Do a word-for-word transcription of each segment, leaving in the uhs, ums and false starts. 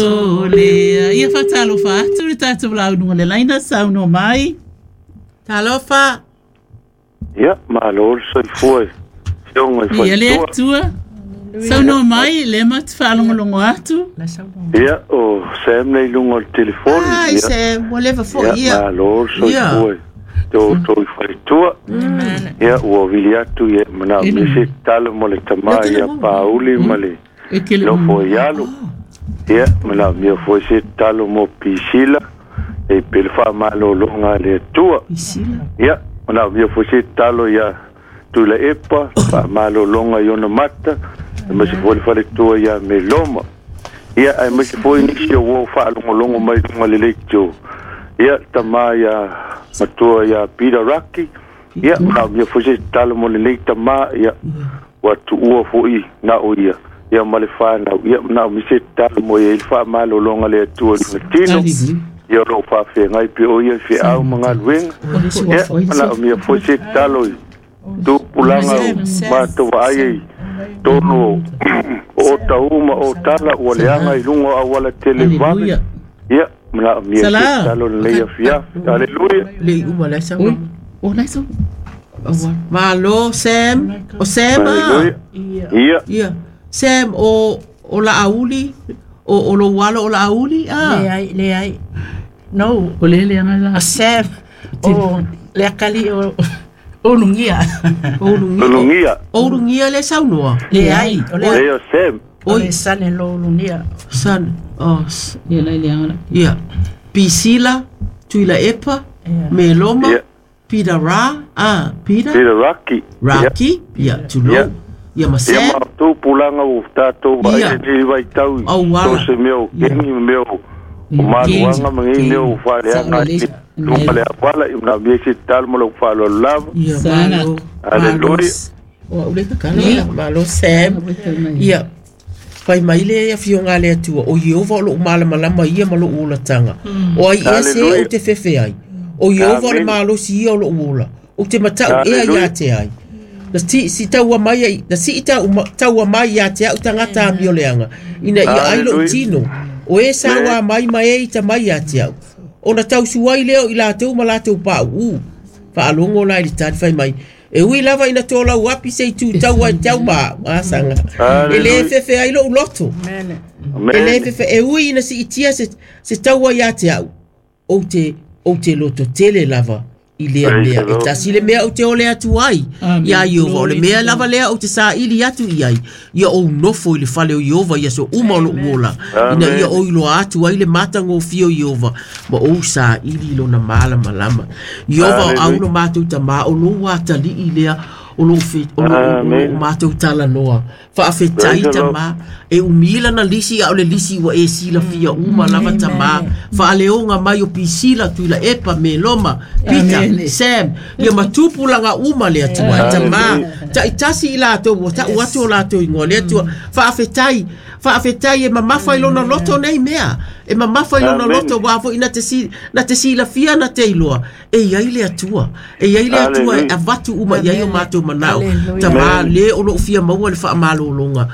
Le ia faatalofa atu le tatou launuga le laina saunoa mai. Talofa. Ia, malo le soifua i afioga i Ia le faletua. Atua. Saunoa mai le ma te faalogologo atu. Ia, o Sam nei luga o le telefoni. Ai, Ia, Sam, ua leva foi ia, ia. malo le soifua i te outou i faletua. Ia, ua vili atu ia manaomia se tatalo mo le tamā ia Pauli ma le E ke le nofo i alo. Ia, manaomia foi se tatalo mo Pisila e pe le faamalologa a le Atua. Pisila. Ia, manaomia foi se tatalo ia Tuilaepa, faamalologa i ona mata, aemaise foi le faletua ia Meloma. Ia, aemaise foi nisi o ua faalogologo mai luga le leitio. Ia, tamā ia matua ia Peter Raki. Ia, manaomia foi se tatalo mo lenei tamā, ia, ua tuua foi na o ia. Ia ma le whanau. Ia, manaomia se tatalo mo ia i le faamalologa le Atua i lona tino. Ia o loo faafeagai pe o ia feau ma galuega. Ia, manaomia foi se tatalo i tupulaga o matou vaai ai tonu o o tau ma o tala ua leaga i luga o auala tele vave. Aleluia. Ia, manaomia se Sala. tatalo lenei afiafi. Aleluia. Le i uma le sau. Ui, o lai sau. Aua. Malo, Sam. O Sam ah. Aleluia. Ia, Ia. Sam, o, o la auli, o, o lo walo o la auli, ah. Leai, leai. No, O le le anga la. Sam, o le akali o o lungia. O lungia. Lulugia. O lungia le saunoa. Leai, o le Lea o Sam. o le sane lo lunia. San, oh, s- Ia lai le anga la. ia. Pisila, Tuilaepa, Ia. Meloma, Ia. Peter Ra, ah, Peter, Peter Raki. Ia. Raki, ia, Tulou. Ia. Ia, ma Ia Sam, ma tupulaga ua tatou vaai Ia. lenei vaitau i Auala. so se mea o kengi ma mea o o maluaga ma nei mea o faaleaga ai i luga le auala. Ia manaomia se tatalo ma lou faaaloalo lava. Ia, Sana. malo. Aleluia. Malo. O ule kakala, ia, malo Sam. Ia, fai mai le afioga a le Atua, o Ieova o lou malamalama ia ma lou olataga. O ai ea se Hallelujah. ou te fefe ai. O Ieova o le Amen. malosi ia o lou ola. Ou te matau ea Hallelujah. ia te ai. Na si, si taua mai ai, na si tau, taua mai ia te au tagata amioleaga. Ina ia ai lou Hallelujah. tino. O e saua Amen. mai ma e ita mai ia te au. Ona tausuai lea o i latou ma latou pauu. Faalogo la i le tali fai mai. E ui lava ina tō api se i tū tau ai tau ma asanga. E le Hallelujah. fefe ai lou loto. Mene. E le Amen. fefe e ui ina si itia se, se taua ia te au. Ou te, ou te loto tele lava i lea Praise mea. the E Lord. tasi le mea ou te ole atu ai. Amen. Ia Iova, o le Glory mea to lava God. lea ou te saili atu i ai. Ia ou nofo i le fale o Iova ia so uma o lou ola. Ina Amen. ia o iloa atu ai le matagofie o Iova. Ma ou saili i lona malamalama. Iova o Hallelujah. au lo matou tamā o lou atalii lea o lou fe, o lou, o lou Amen. matou talanoa. Faafetai Praise the Lord. tamā. E umila na lisi a o le lisi ua e silafia uma lava tamā. Faaleoga mai o Pisila, Tuilaepa, Meloma, Peter, Amen. Sam, ia matupulaga uma le Atua. E tamā, Hallelujah. taitasi i latou, ua tau atu o latou ingoa le Atua. Faafetai, faafetai e mamafa i lona loto nei mea. E mamafa i lona Amen. loto ua foi na te si, na te silafia na te iloa. E iai le Atua. E iai le Atua e Hallelujah. avatu uma i ai o matou manao. Hallelujah. Tamā le o lou fia maua le faamalologa.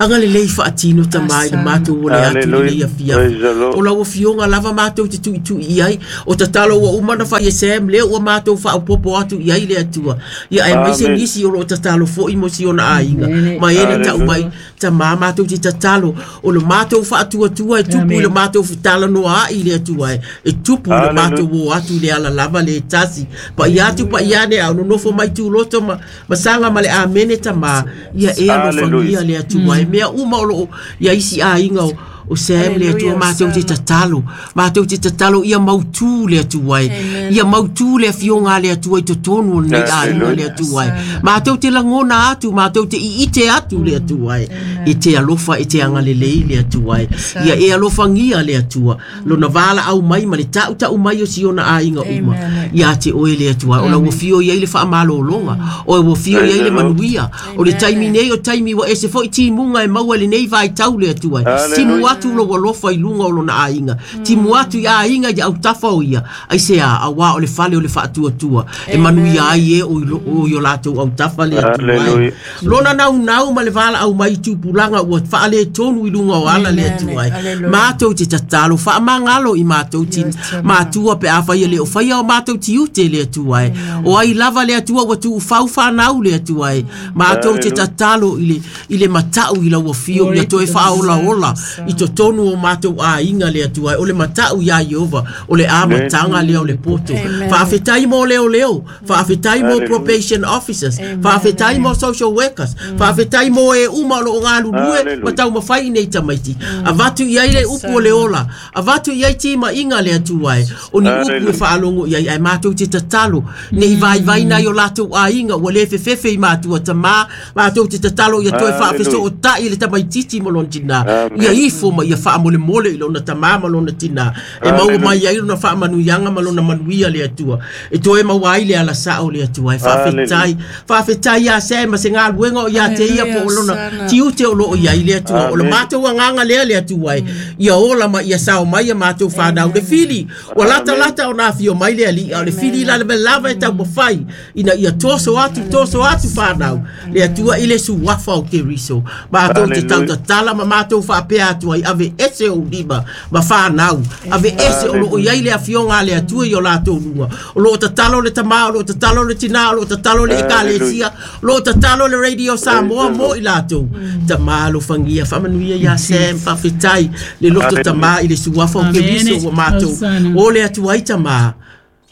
Aga le lei faatino tamā i le matou o le atu i lenei Hallelujah. afiafi. Praise the Lord. O lau afioga lava matou te tuitui i ai. O tatalo ua uma na fai e Sam lea ua matou faaopopo atu i ai le Atua. Ia aemaise Amen. nisi o loo tatalo foi mo si ona aiga. Amen. Ma e na tau Hallelujah. mai tamā matou te tatalo. O le matou faatuatua e tupu i le Amen. matou talanoa ai le Atua e. E tupu i le Hallelujah. matou o atu i le ala lava le tasi. Paia atu paia ane au nonofo mai tuloto ma, ma saga ma le amene tamā. Ia e alofagia Hallelujah. le Atua e. Mea uma o loo ia isi aiga o o Sam le Atua Hallelujah, matou te Sana. tatalo. Matou te tatalo ia mautū le Atua e. Amen. Ia mautū le afioga a le Atua i totonu o lenei aiga Hallelujah. le Atua e. Matou te lagona atu, matou te iite atu le Atua e. E te alofa e te agalelei le Atua e. Ia e alofagia le Atua. Lona valaau mai ma le tautau mai o si ona aiga uma. Amen. Ia te oe le Atua. O lau afio i ai le faamalologa. O ua afio i ai le Praise the Lord. manuia. O le taimi nei o taimi ua ese foi timuga e maua lenei vaitau le Atua e. Hallelujah. Timu atu atu lou alofa i luga o lona aiga timu atu i aiga i autafa o ia aisea auā o le fale o le faatuatua e manuia ai e o i o latou autafa le Atua ai lona naunau ma le valaau mai i tupulaga ua faaletonu i luga o ala le Atua ai matou te tatalo faamagalo i matou ti matua pe afai e le o faia o matou tiute le Atua ai o ai lava le Atua ua tuufau fanau le Atua ai matou te tatalo i le i le matau i lau afio ia toe faaolaola i totonu o matou aiga le Atua ai o le matau iā Ieova o le amataga lea o le poto faafetai mo leoleo faafetai mo probation officers faafetai mo social workers faafetai mo e uma o loo galulue ma taumafai i nei tamaiti avatu i ai le upu o le ola avatu i ai timaiga le Atua ai o ni upu e faalogo i ai ae matou te tatalo nei vaivaina ai o latou aiga ua lē fefefe i matua tamā matou te tatalo ia toe faafesootaʻi le tamaititi ma lona tinā ia ifo ma ia faamolemole i lona tamā ma lona tinā e maua mai ai lona faamanuiaga ma lona manuia le Atua e toe maua ai le alasao le Atua e faafetai faafetai iā se ma se galuega o iā te ia po o lona tiute o loo iai le Atua o le matou agaga lea le Atua e ia ola ma ia sao mai ia matou fanau le fili ua latalata ona afio mai le alii a o le fili la le lava e taumafai ina ia toso atu toso atu fanau le Atua i le suafa o Keriso matou te tautatala ma matou faapea atu ai ave ese ou lima ma fanau ave ese o loo iai le afioga a le Atua i o latou luga o loo tatalo le tamā o loo tatalo le tinā o loo tatalo le ekalesia o loo tatalo le Radio Samoa mo i latou tamā alofagia faamanuia iā Sam faafetai le loto tamā i le suafa o Keriso ua matou o le Atua ai tamā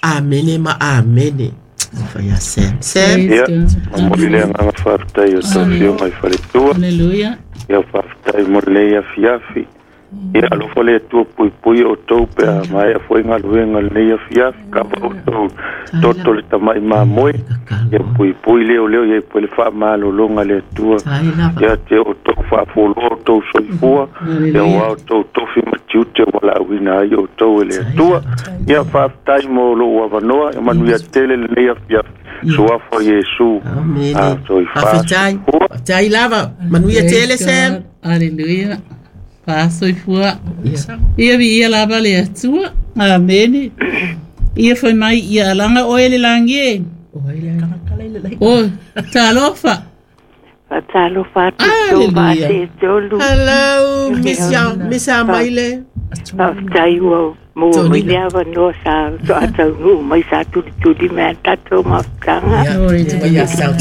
amene ma amene. Faia Sam Sam ia momoli le agaga faafetai o tau afioga i faletua Hallelujah ia faafetai mo lenei afiafi ia alofa le Atua puipui o tou pe a maea foi galuega lenei afiafi kava o tou toto le tamaʻi mamoe ia puipui leoleo ia pue le faamalologa le Atua ia te o tou faafoloa o tou soifua ia uā o tou tofi ma tiute ua laauina ai outou e le Atua ia faafetai mo lou avanoa ia manuia tele lenei afiafi suafa o Iesu amene faafetai faafetai lava manuia tele Sam Hallelujah Faasoifua ia viia lava le Atua amene ia fai mai ia alaga oe le lagi e o talofa Faatalofa atu tou faaseetolu Hello Miss Miss Amaile faafetai ua maua mai le avanoa sa toataunuu mai sa tulituli mai a tatou mafutaga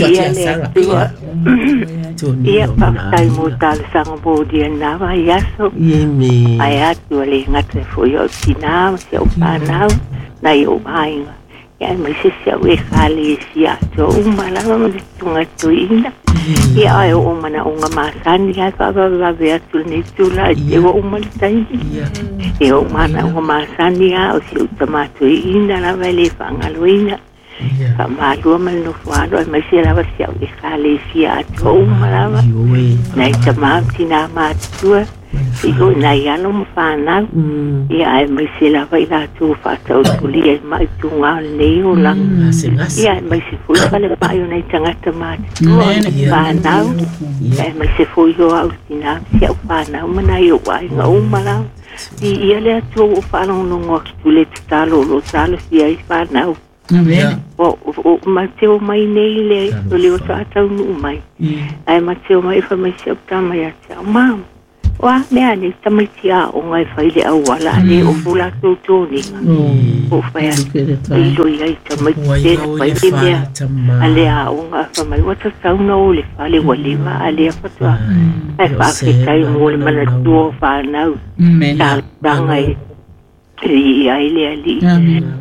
ia le Atua ia faafetai mo talosaga molia lena vaiaso ae atu a le gata foi o tinā ma si au fanau nai ou aiga ia aemaise si au ekalesia atoa uma lava ma le tugatoiina ia ae oo manaʻoga masani ae faavavevave atu lenei tula e te ua uma le taimi ia ou manaʻoga masani a o si ou tamatoiina lava e lē faagaloina faamalua ma le nofo alo aemaise lava si au ekalesia atoa uma lava nai tamā ma tinā matutua i nai alo ma fanau ia aemaise lava i latou faataotolia i maʻituga o lenei olaga ia aemaise foi falemaʻi o nai tagata matutua fanau aemaise foi o au tinā ma si au fanau ma nai ou aiga uma lava i ia le Atua ua faalogologo atu le tatalo o loo talosia ai fanau Amen. O o mateo mai nei le o le o taunuu mai ae mateo mai fai mai si au tama ia te au mama o a mea nei tamaiti aoga e fai le auala a le ofu latou toniga o fai atu i ai tamaiti tele fai le mea a le aoga fai mai ua tatauna o le fale ua leva a lea fatoa ae faafetai mo le manatua o fanau talosaga e i ai le alii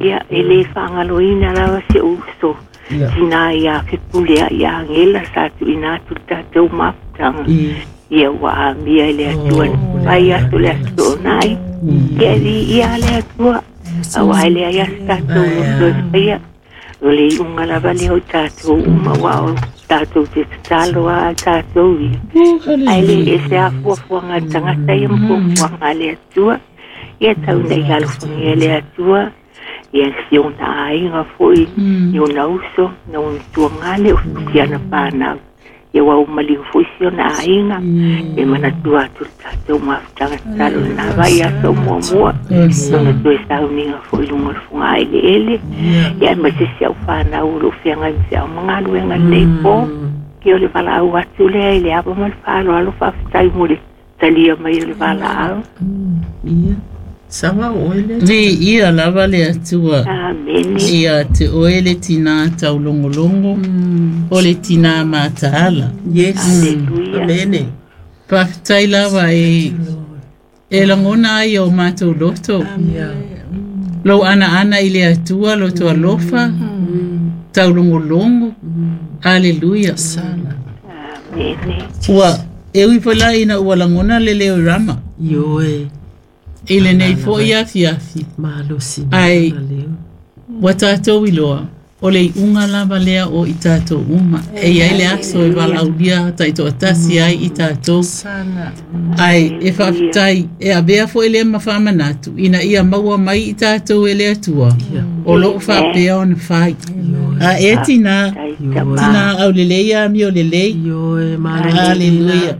ia e lē faagaloina lava se uso tinā iā fepule a ia agela sa tuuina atu le tatou mafutaga ia ua amia i le Atua fai atu le aso toonai ia e viia le Atua auā e leai a se tatou loto e faia o le iuga lava lea o tatou uma uā o tatou te tatalo a tatou ia ae lē ese afuafuaga a le tagata ia ma fuafuaga a le Atua ia tau nei alofagia le Atua ia si ona aiga foi i ona uso na ona tuagale o tukiana fanau Ia ua umaliu foi si ona aiga e manatua atu le tatou mafutaga tatalo lena vai aso muamua lona toe sauniga foi luga o le fogaeleele ia aemaise si au fanau o loo feagai ma feao ma galuega lenei po ia o le valaau atu lea i le ava ma le faaaloalo faafetai mo le talia mai o le valaau. Ia saga oe le Viia lava le Atua. Amene. Ia te oe le tinā taulogologo o le tinā mataala. Yes. Aleluia. Amene. Faafetai lava e e lagona ai o matou loto. Ia. Lou anaana i le Atua loto alofa taulogologo. Aleluia. Amene. Ua e ui foi la ina ua lagona le leo i Rama Ioe. i lenei foi afiafi. Malosi Ai. na leo. Ua tatou iloa o le iuga lava lea o i tatou uma. E iai le aso e valaaulia taitoatasi ai i tatou. Ai e faafetai e avea foi lea ma faamanatu ina ia maua mai i tatou e le Atua o loo faapea ona fai. A e tinā, Tai tama. tinā aulelei amio lelei. Ioe malosi. Hallelujah.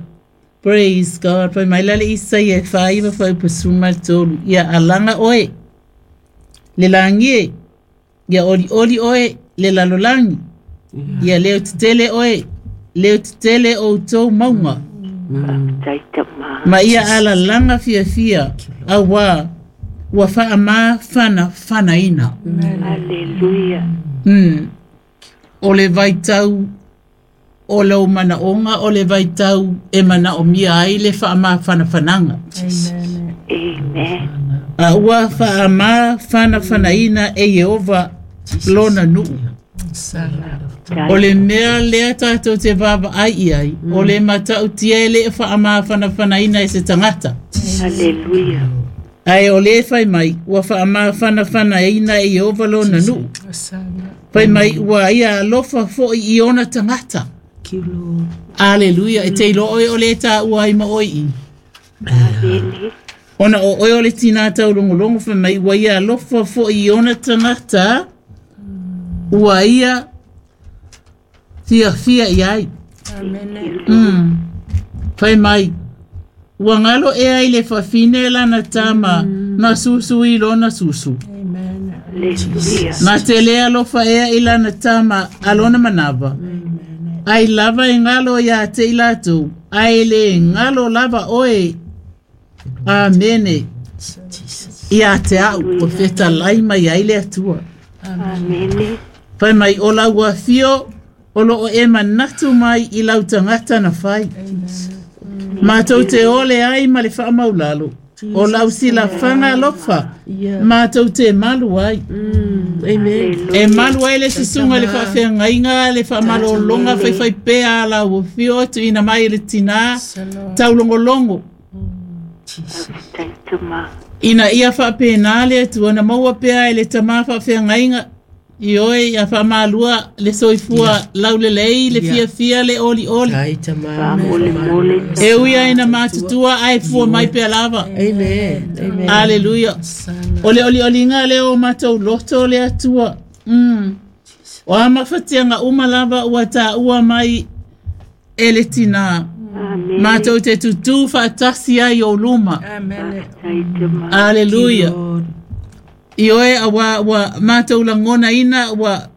Praise God. Fai mai la le Isaia e faiva faupasuma le tolu. Ia alaga oe le lagi e. Ia olioli oe le lalolagi. Ia leo tetele oe leo tetele o outou mauga. Tai tama. Ma ia alalaga fiafia auā ua faamāfanafanaina. Aleluia. Mm. O le vaitau o lau manaoga o le vaitau e manaomia ai le faamāfanafanaga. Amen. A ua faamāfanafanaina e Ieova lona nuu. O le mea lea tatou te vaavaai i ai, o le matautia e le faamāfanafanaina e se tagata. Aleluia. Ae o le fai mai, ua faamāfanafanaina e Ieova lona nuu. Fai mai ua ia alofa foi i ona tagata. Thank you, Lord. Aleluia. E te iloa oe o le taua ai ma oe i. Amene. Ona o oe o le tinā taulogologo fai mai ua ia alofa foi i ona tagata ua ia fiafia i ai. Mm. Fai mai ua galo ea i le fafine lana tama na susu i lona susu. Aleluia. Na te le alofa ea i lana tama a lona manava. Ai lava e galo ia te i latou, ai le galo lava oe. Amene. Ia te au, o fetalai mai ai le Atua. Amene. Fai mai o lau afio, o loo e manatu mai i lau tagata na fai. Matou te ole ai ma le faamaulalo. O lau silafaga alofa, matou te malu ai. Mm. Amen. E malu ai le susuga le faafeagaiga le faamalologa faifaipea a lau afio tuuina mai e le tinā taulogologo. Tai tama. Ina ia faapena le Atua na maua pea e le tamā faafeagaiga i oe ia faamalua le soifua laulelei le fiafia le olioli. Tai tama. Faamolemole. E ui ai na matutua ae fua mai pea lava. Amen. Amen. Aleluia. O le olioliga lea o matou loto le Atua. Mm. O a mafatiaga uma lava ua taua mai e le tinā. Amene. Matou te tutū faatasi ai o luma. Tai tama. Aleluia. Lord. I oe auā ua matou lagonaina ua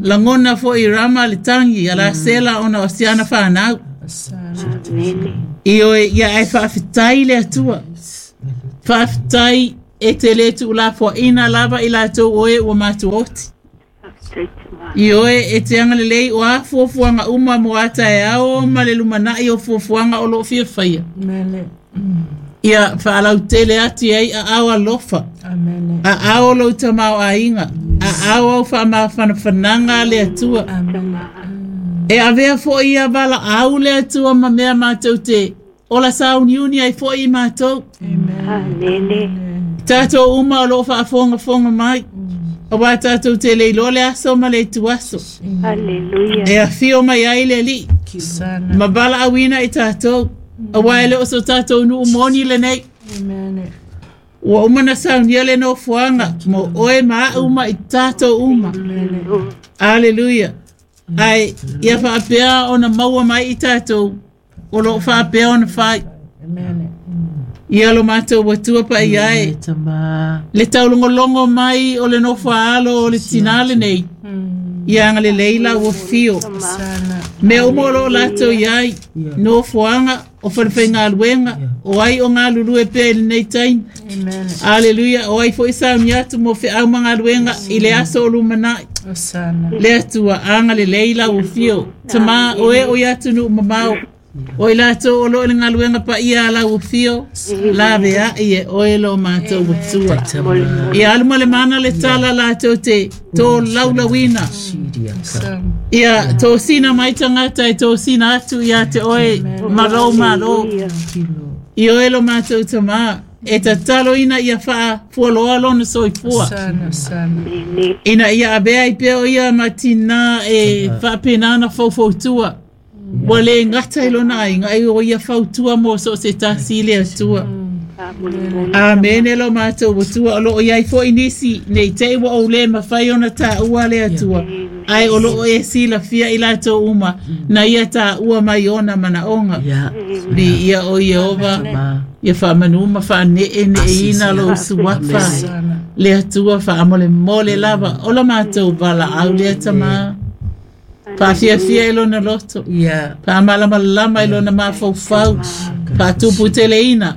lagona foi Rama le tagi a la sela ona o siana fanau. Amene. I oe ia ae faafetai le Atua. Faafetai e te lē tuulafoaina lava i latou oe ua matou oti. Tai tama. I oe e te agalelei o a fuafuaga uma mo a taeao ma le lumanai o fuafuaga o loo fiafaia. Ia faalautele atu ai aao alofa. Aao lou tamaoaiga. Aao au faamafanafanaga le Atua. E avea foi ia valaau le Atua ma mea matou te ola sauniuni ai foi i matou. Amene. Tatou uma o loo faafogafoga mai. Auā tatou te le iloa le aso ma le ituaso. Aleluia. E afio mai ai le Alii ma valaauina i tatou. Auā e le o so tatou nuu moni lenei. Ua uma na saunia le nofoaga mo oe ma au ma i tatou uma. Aleluia. Ai ia faapea ona maua mai i tatou o loo faapea ona fai. Ia lo matou atua paia e le taulogologo mai o le nofo a alo o le tinā lenei. Ia agalelei la ua fio. Mea uma o loo latou iai nofoaga o falefaigaluega o ai o galulue pea i lenei taimi. Aleluia. O ai foi sauni atu mo feau ma galuega i le aso o lumanai. Le Atua agalelei la ua fio. Tamā o e o i atunuu mamao o i latou o loo i le galuega paia a lau afio laveai e oe lo matou atua. Ia alu ma le mana le tala latou te tolaulauina. Ia tosina mai tagata e tosina atu ia te oe ma lou malo. I oe lo matou tamā e tataloina ia faafualoa lona soifua. Ina ia avea ai pea o ia ma tinā e faapena ona faufautua. Ua le gata i lona aiga ai o ia fautua mo so se tasi le Atua. Amene lo matou atua o loo iai foi nisi nei te ua ou le mafai ona taua le Atua. Ai o loo e silafia i latou uma na ia taua mai ona manaoga. Bi ia o Ieova ia faamanu ma faaneeneeina lou suafa le Atua faamolemole lava o la matou valaau lea tamā. Faafiafia i lona loto. Faamalamalama i lona mafaufau. Faatuputeleina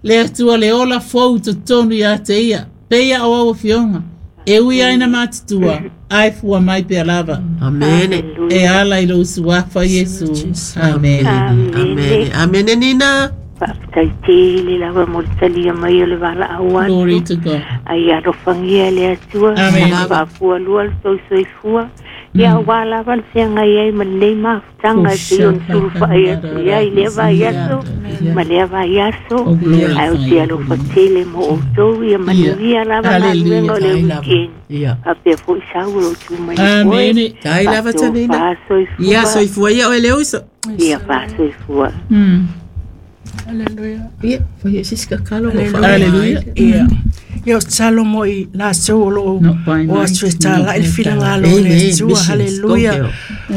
le Atua le ola fou totonu ia te ia. Peia o au afioga e ui ai na matutua ai fua mai pea lava. Amene. E ala i lou suafa Iesu. Amene. Amene. Amene Nina. Faafetai tele lava mo le talia mai o le valaau atu. Glory to God. Ai alofagia le Atua. Faafualua le tou soifua. Ia ua lava le feagai ai ma lenei mafutaga e pei ona sulufa'i atu iai lea vaiaso ma lea vaiaso. Ae o te alofa tele mo outou ia manuia lava galuega o le weekend. Faapea fo'i sau o lou tumai Amene. Tai lava tanina. Ia soifua ia oe le uso. Ia faasoifua. Hallelujah. Ia, fai e sisi kakalo. Hallelujah. Ia. Ia o talo mo i latou o loo o atu e tāla'i le finagalo o le Atua. Hallelujah.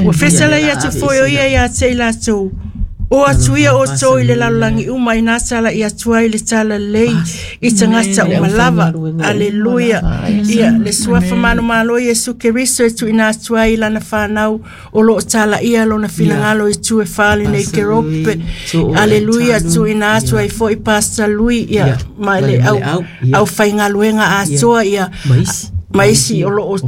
Ua fetalai atu foi o ia ia te i latou. O atu ia o tō i le lalolagi uma i nā tala'i atu ai le talalelei i tagata uma lava. Aleluia. Ia le suafa malomalo Iesu Keriso e tuuina atu ai i lana fanau o loo talaia lona finagalo i tu e fale nei kerope. Aleluia. Tuuina atu ai foi Pastor Lui ia ma le au au faigaluega atoa ia ma isi o loo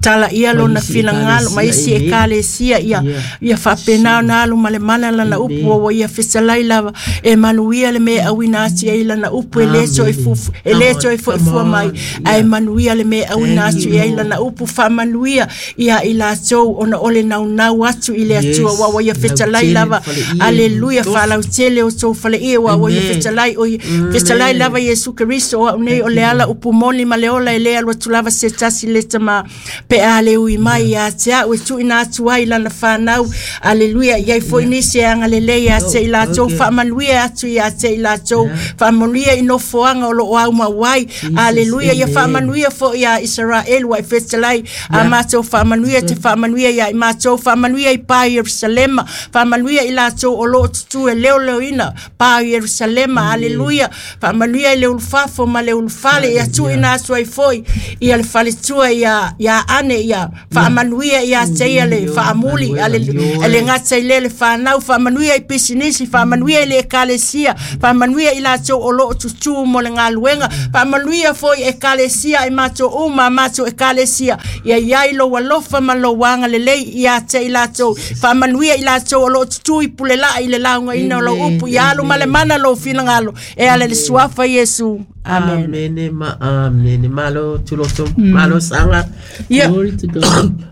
tala ia lona finagalo ma isi ekalesia ia ia faapena ona alu ma le mana lana upu ua ia fetalai lava e manuia le mea auina atu ai lana upu e le toe fufu e le toe foifua mai ae manuia le mea auina atu ai lana upu faamanuia ia i latou ona o le naunau atu i le Atua ua ua ia fetalai lava. Aleluia. Faalautele o tou faleia ua ua ia fetalai o fetalai lava Iesu Keriso o au nei o le ala upu moni ma le ola e le alu atu lava se tasi le tamā pe a le ui mai ia te au e tuuina atu ai lana fanau. Aleluia. Iai foi nisi e agalelei ia te i latou faamanuia atu ia te i latou faamanuia i nofoaga o loo aumau ai. Aleluia. Ia faamanuia foi ia Isaraelu ua e fetalai a matou faamanuia te faamanuia ia i matou faamanuia i pa Ierusalema faamanuia i latou o loo tutu e leoleoina pa Ierusalema. Aleluia. Faamanuia i le ulufafo ma le ulufale ia tuuina atu ai foi ia le faletua ia ia ane ia faamanuia ia te ia le faamuli ale le gata i le le fanau faamanuia i pisinisi faamanuia i le ekalesia faamanuia i latou o loo tutu mo le galuega faamanuia foi ekalesia i matou uma matou ekalesia ia iai lou alofa ma lou agalelei ia te i latou faamanuia i latou o loo tutu i pulelai i le laugaina o lou upu ia alu ma le mana lou finagalo e ala le suafa Iesu. Amen. Amene ma amene malo tuloto malo sanga. Ia Glory to God.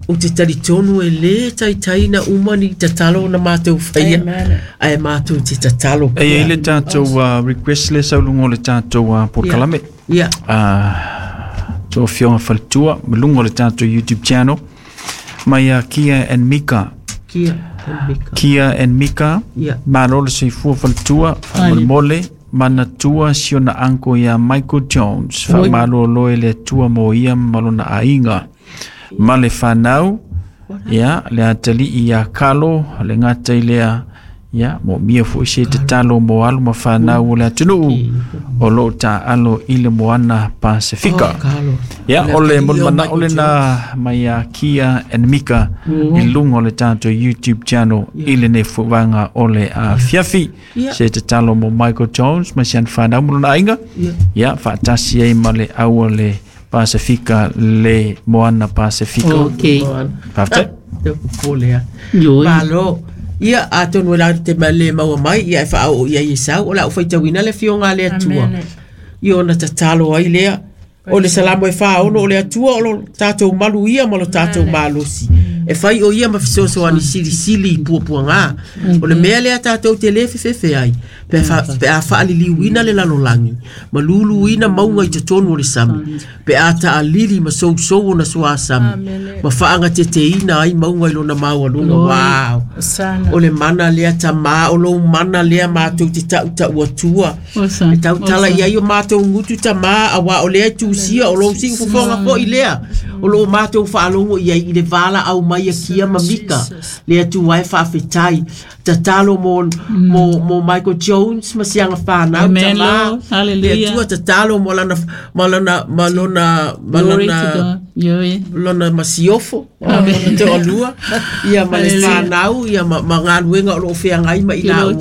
O te talitonu e le taitaina uma ni tatalo na mātou whaia. Ae mātou te tatalo. E i le tātou uh, request le saulungo le tātou uh, porkalame. Ia. Uh, tō fionga whalitua, malungo le tātou YouTube channel. Mai uh, Kia and Mika. Kia and Mika. Kia and Mika. Ia. Malo le soifua whalitua, whamolemole. Manatua siona anko ia Michael Jones. Whamalolo e le atua mo ia malona ainga. Ma le whanau, Ia le atali'i ia Kalo le gata i lea ia mo mia fo'i se tatalo mo alu ma fanau o le atunuu o loo taalo i le moana Pasifika. Ia o le molimana o lena mai ia Kia and Mika i luga o le tatou YouTube channel i lenei fuaga o le afiafi. Se tatalo mo Michael Jones ma si ana fanau ma lona aiga. Ia faatasi ai ma le au o le Pasifika le moana Pasifika. Okay. Faafetai. Te popole a. Malo. Ia atonu e la te le maua mai ia e whaao ia i sau o la u whaitawina le fionga le atua. I ona tatalo ai lea. O le salamo e whaono o le atua o lo tātou malu ia ma lo tātou malosi. E whai o ia ma fisoso ani sili sili pua ngā. O le mea lea tātou te le fefefe ai. Pe a pe a whaaliliuina le lalolangi. Ma luluina maunga i te tonu o le sami. Pe a taalili ma sousou o na sua sami. Ma whaanga te teina ai maunga i lona maua lunga. Wow. O le mana lea tamā, o lo mana lea mātou te tau tau atua. E tau tala ia i o mātou ngutu tamā, a wā o lea tusia, o lo si ufofonga po i lea. O lo mātou whaalongo ia i le vala au mai a kia mamika. Lea tu ai whaafetai. Tatalo mo, mo, mo Michael Jones, ma sianga whanau. Amen, Lord. Hallelujah. Lea tua tatalo mo lana, mo lana, mo lona, mo lona, lona masiofo. Amen. Te olua. Ia ma le whanau, ia ma, ma ngā o lo whea ngai ma ila ua.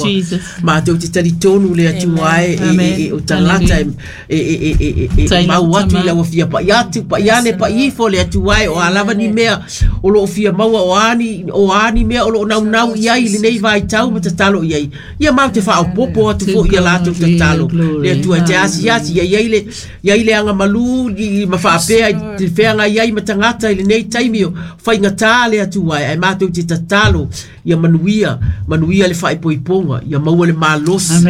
Ma te o te talitonu lea tua ai, e, e, e, o tangata e, e, e, e, e, e, mau atu i laua fia pa iatu, pa iane, pa ifo lea tua ai, o alawa ni mea, o lo fia maua o ani, o ani mea, o lo nau nau iai, le nei vai tau ma tatalo iai. Ia mau te whao popo atu fo ia lātou tatalo. Lea tua te asi asi, ia iai le, ia i le anga malu, i ma whaapea, i te wheanga iai ma tangata i le nei taimi o whainga tā lea tua ai, ai mātou te tatalo, ia manuia, manuia le whaipoiponga, ia maua le malosi,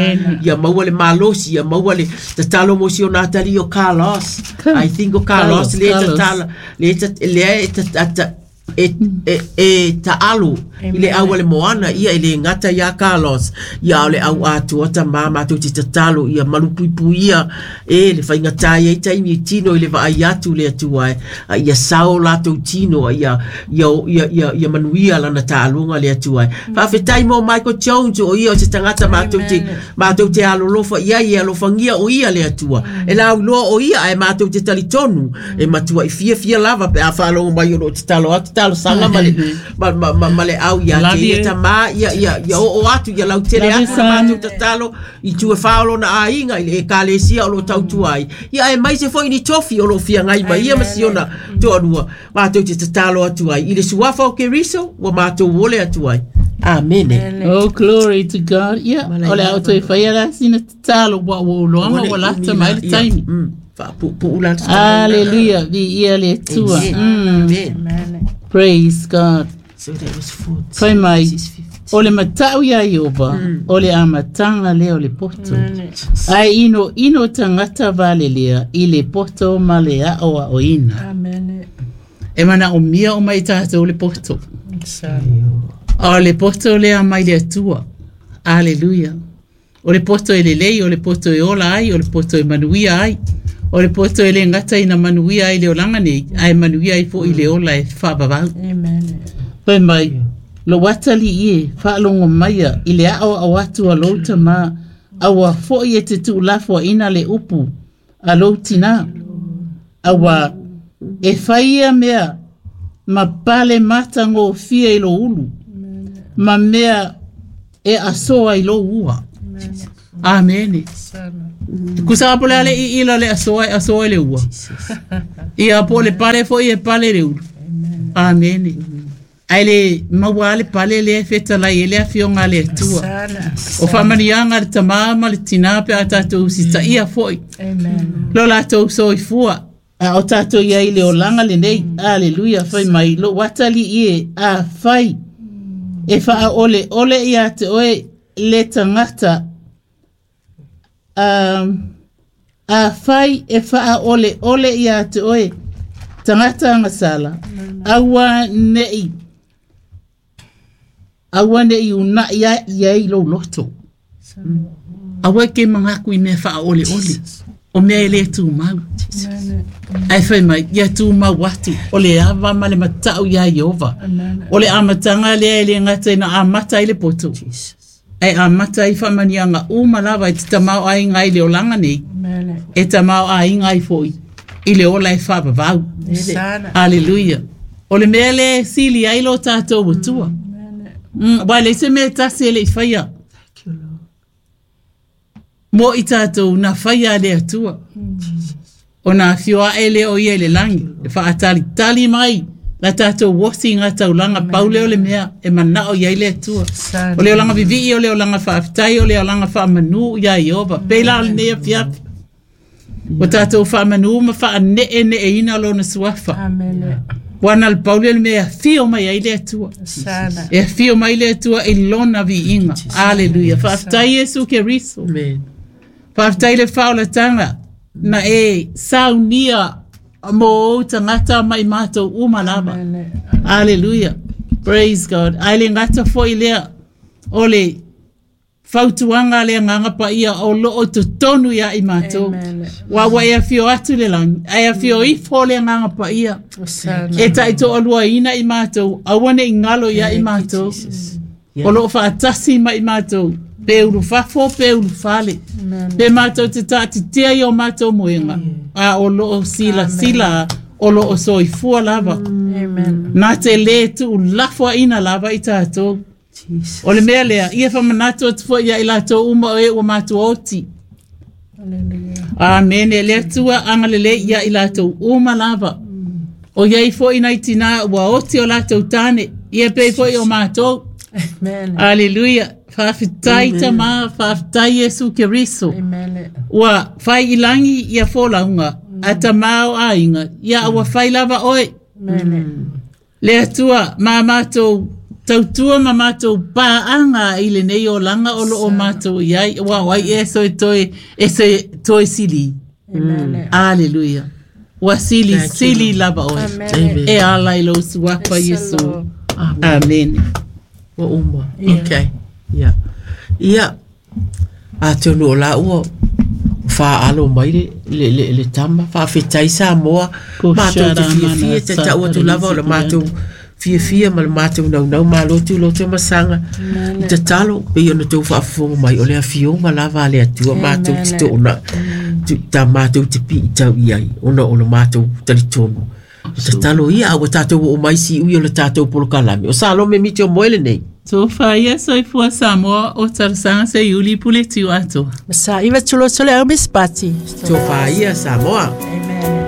ia maua le malosi, ia maua le tatalo mo si o Natali o Carlos. I think o Carlos, le tatalo, le tatalo, e e e taalo i le au le moana ia i le ngata ia Carlos ia o le au atua ta mama tu te tatalo ia malupuipu ia e le whainga ia i taimi tino i le vaai atu le atua ia sao latou tino ia ia ia ia, ia manuia lana taalunga le atua faafetai mo Michael Jones o ia o se tangata matou te matou te alolofa ia ia alofangia o ia le atua e lau loa o ia ai matou te talitonu e matua i fia fia lava pe a whaalongo mai o lo te talo atu talo sanga ma le ma ma ma le au ia te ia tama ia ia ia o atu ia lau tele atu na mātou tatalo i tua whaolo na ainga i le ekalesia o lo tautua ai ia e mai se foi ni tofi o lo fia ngai mai ia ma siona toalua mātou te tatalo atu ai i le suafa o Keriso ua mātou ole atu ai. Amen. Oh, glory to God. Ia o le auto e whaia la sina tatalo wa o loanga wa lata mai le taimi. Hallelujah. Vi ia le tua. Amen. Praise God. So that was fourteen. Fai mai, o le matau ia Ioba, o le amatanga lea o le poto. Ai ino ino tangata vale lea, i le poto ma le ao a oina. Amen. E mana o mia o mai tātou le poto. O le poto lea mai le atua. Hallelujah. O le poto e lelei, o le poto e ola ai, o le poto e manuia ai. O le poto e le ngata ina manuia ai le olanga nei, ai manuia ai fo i le ola e whaavavau. Amen. Fai mai, lo watali ie, whaalongo maia, i le ao au atu a louta ma, aua foi e te tuulafo ina le upu, a loutina. Aua, e whaia mea, ma pale mata ngō fia i lo ulu, ma mea e asoa i lo ua. Amen. Kusa apo le ale i ila le asoa e asoa le ua. Ia po le pale foi e pale le ulu. Amen. Ai le maua le pale le feta lai ele afionga le atua. O whamanianga le tamama le tinape a tātou sita ia foi. Amen. Lo lātou soifua. A o tātou ia i le olanga le nei. Hallelujah. Fai mai lo watali ie a fai. E whaa ole ole ia te oe le tangata. Um, a fai e whaa ole ole ia te oe tangata ngasala. Aua nei. Aua nei una ia ia i lo loto. Aua ke mangaku i mea whaa ole ole. O mea e le tumau. Ai fai mai, ia tumau atu, o le ava ma le matau ia Iova. O le amataga lea e le gata ina amata ai le poto. Ai amata ai faamaniaga uma lava e te tamaoaiga ai le olaga nei. E tamaoaiga ai foi i le ola e faavavau. Aleluia. O le mea lea e sili ai lo tatou atua. Ua leai se mea tasi e le i faia. Mo i tatou na faia le atua. O na afio ae lea o ia i le lagi. E faatalitali mai la tatou osi i ngā taulaga pau lea o le mea e manao i ai le Atua. O le olaga vivii, o le olaga faafetai, o le olaga faamanu ia Iova. Pei la o lenei afiafi. Ua tatou faamanu ma faaneeneeina lona suafa. Ua na le pau lea o le mea e afio mai ai le Atua. E afio mai le Atua i lona viiga. Aleluia. Faafetai Iesu Keriso. Faafetai le faolataga na e saunia mo ou tagata mai matou uma lava. Aleluia. Praise God. Ai le gata foi lea o le fautuaga le agaga paia o loo totonu ia i matou. Ua ua e afio atu le lagi, ae afio ifo le agaga paia. E taitoaluaina i matou, aua ne i galo ia i matou. O loo faatasi mai matou, pe ulufafo pe ulufale. Pe matou te taatitia i o matou moega, a o loo silasila o loo soifua lava. Na te lē tuulafoaina lava i tatou. O le mea lea, ia faamanatu atu foi ia i latou uma o e ua matou oti. Amene. Le Atua agalelei ia i latou uma lava. O iai foi nai tinā ua oti o latou tane, ia pei foi o matou. Aleluia. Faafetai Tama, faafetai Iesu Keriso. Ua fai i lagi ia folauga a tamā o aiga, ia ua fai lava oe. Le Atua ma matou tautua ma matou paaga i lenei olaga o loo matou iai, ua o ai e soe toe e se toe sili. Aleluia. Ua sili sili lava oe. E ala i lou suafa Iesu. Amen. Ua uma. Okay. Ia. Ia. Atonu o la ua whaalo mai le, le, le, le tama, whaafetai Samoa, mātou te fiafia, te tau atu lava o le mātou fiafia ma le mātou naunau malotu loto masanga. I te talo, pei ona tau whaafofonga mai o le afioga lava a le Atua mātou te toona, ta mātou te pii tau iai, ona o le mātou talitonu. O te talo ia, ua tātou o mai si ui o le tātou polokalame. O Salome miti o moele nei. Tofa ia soifua Samoa o talosaga se iuli pule tiu atoa. Sa iwa tulotole au mispati. Tofa ia Samoa. Amen.